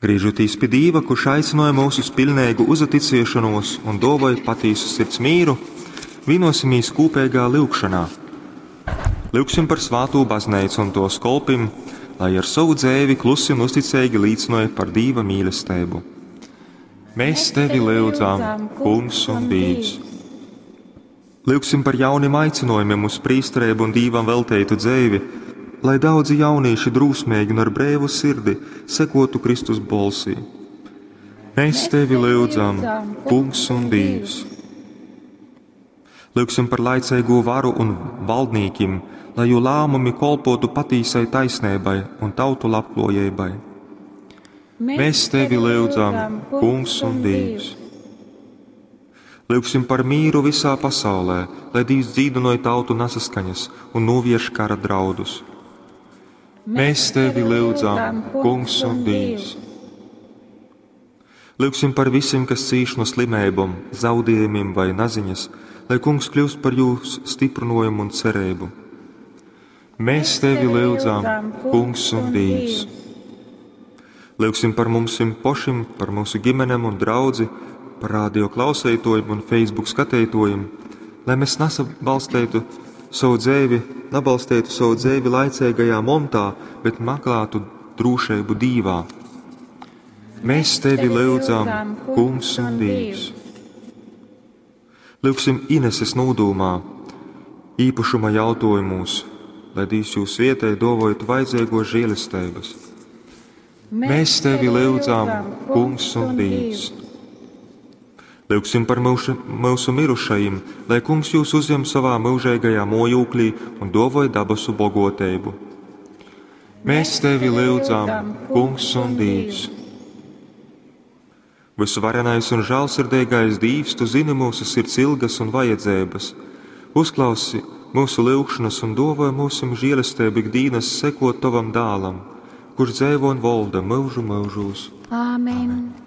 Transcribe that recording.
Grīžotīs pi Dīva, kurš aicynoja mūs uz piļneigu uzaticiešanos un dōvoj patīsu sirds mīru, vienosimies kūpeigā lyugšanā. Lyugsim par svātū bazneicu un tōs kolpim, lai ar sovu dzeivi klusi un uzticeigi līcinoja par Dīva mīlesteibu. Mēs tevi lyudzam, Kungs un Dīvs! Lyugsim par jaunim aicinojumiem uz prīstereibu un Dīvam velteitu dzeivi, lai daudzi jaunīši drūsmeigi un ar breivu sirdi sekotu Kristus bolsī. Mēs tevi lyudzam, Kungs un Dīvs! Lyugsim par laiceigo varu un valdnīkim, lai jū lēmumi kolpotu patīsai taisneibai un tautu labklājībai. Mēs tevi lyudzam, Kungs un Dīvs! Lyugsim par mīru visā pasaulē, lai Dīvs dzīdinoja tautu nesaskaņas un novērš kara draudus. Mēs tevi lyudzam, Kungs un Dīvs! Lyugsim par visiem, kas cīš no slimībām, zaudējumiem vai naziņas, lai Kungs kļūst par jūsu stiprinājumu un cerību. Mēs tevi lyudzam, Kungs un Dīvs! Lyugsim par mums pašiem, par mūsu ģimenēm un draudzi, par radio klausētojiem un Facebook skatītojiem, lai mēs nesabalstītu savu dzēvi, nabalstītu savu dzēvi laicīgajā montā, bet meklētu drūšību Dīvā. Mēs tevi lyudzam, Kungs un Dīvs! Lyugsim Ineses nūdūmā, īpašuma jautājumos, lai Dīvs jūs vietēji dovojot vajadzīgos žēlestības. Mēs tevi lyudzam, Kungs un Dīvs! Lyugsim par mūsu, mūsu mirušajiem, lai Kungs jūs uzņem savā mūžīgajā mojūklī un dovoj dabasu bogotību. Mēs tevi lyudzam, Kungs un Dīvs! Visvarenais un žēlsirdīgais Dīvs, tu zini mūsu sirds ilgas un vajadzības. Uzklausi mūsu lūgšanas un dovoj mūsim žēlastību ikdienas sekot tavam dālam, kurš dzēvo un valda mūžu mūžos. Āmen.